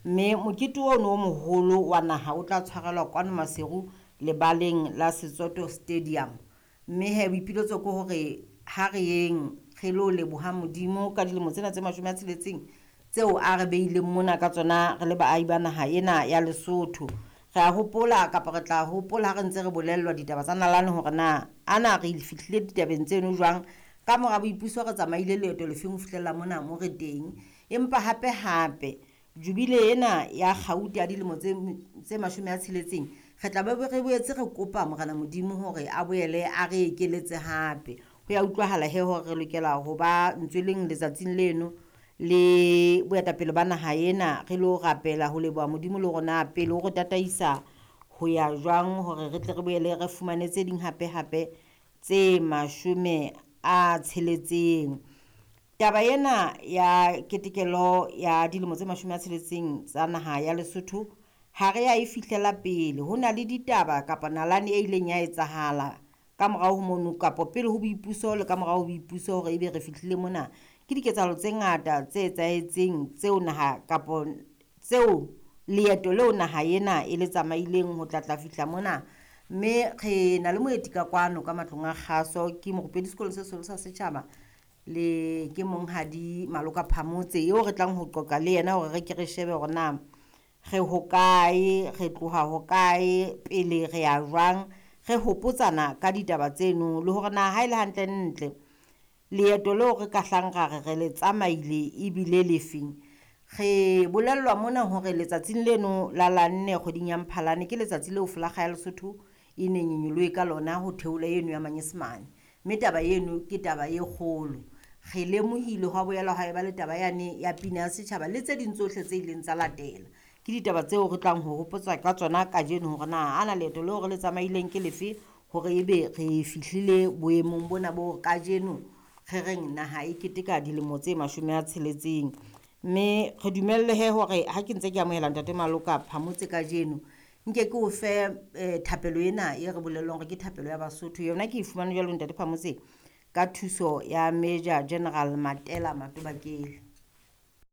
Mme mokete ono o moholo wa naha o tla tshwarelwa kwano Maseru lebaleng la Setsoto Stadium. Mme he boipiletso ke hore ha re yeng re lo leboha Modimo ka dilemo tsena tse 60 tseo a re beileng mona ka tsona re le baahi ba naha ena ya Lesotho. Re a hopola kapa re tla hopola ha re ntse re bolellwa ditaba tsa nalane hore na ana re fihlile ditabeng tseno jwang. Ka mora boipuso re tsamaile leeto lefeng ho fihlella mona mo re teng. Empa hape hape jubile ena ya kgauta ya dilemo tse 60 re tla be re boetse re kopa Morena Modimo hore a boele a re ekeletse hape. Ho ya utlwahala he hore re lokela ho ba ntsweleng letsatsing leno le boetapele ba naha ena re lo rapela ho leboha Modimo le rona pele o re tataisa ho ya jwang hore re tle re boele re fumane tse ding hape hape tse 60. Taba ena ya ketekelo ya dilemo tse 60 tsa naha ya Lesotho ha re ya e fihlela pele. Ho na le ditaba kapa nalane e ileng ya etsahala ka morao ho mono kapa pele ho boipuso le ka morao ho boipuso hore ebe re fihlile mona. Ke diketsahalo tse ngata tse etsahetseng tseo naha kapa tseo leeto leo naha ena e le tsamaileng ho tla fihla mona. Mme re na le moeti ka kwano ka matlong a kgaso ke morupedi sekolong se seholo sa setjhaba le ke monghadi Maloka Phamotse eo re tlang ho qoqa le yena hore re ke re shebe hore na re hokae, re tloha hokae, pele re ya jwang, re hopotsana ka ditaba tseno le hore na ha ele hantle ntle leeto leo re ka hlang ra re re le tsamaile ebile lefeng. Re bolellwa mona hore letsatsing leno la 4 kgweding ya Mphalane ke letsatsi leo folakga ya Lesotho e neng e nyolohe ka lona ho theola eno ya Manyesemane. Mme taba eno ke taba e kgolo. Re lemohile hwa boela ha eba le taba yane ya pina ya setjhaba le tse ding tsohle tse ileng tsa latela. Ke ditaba tseo re tlang ho hopotsa ka tsona kajeno hore na ana leeto leo re le tsamaileng ke lefe hore ebe re fihlile boemong bona bo kajeno re reng naha e keteka dilemo tse 60. Mme re dumelle he hore ha ke ntse ke amohela ntate Maloka Phamotse kajeno nke ke o fe thapelo ena e re bolellwang hore ke thapelo ya Basotho. Yona ke e fumane jwalo ntate Phamotse ka thuso ya Major General Matela Matobakele.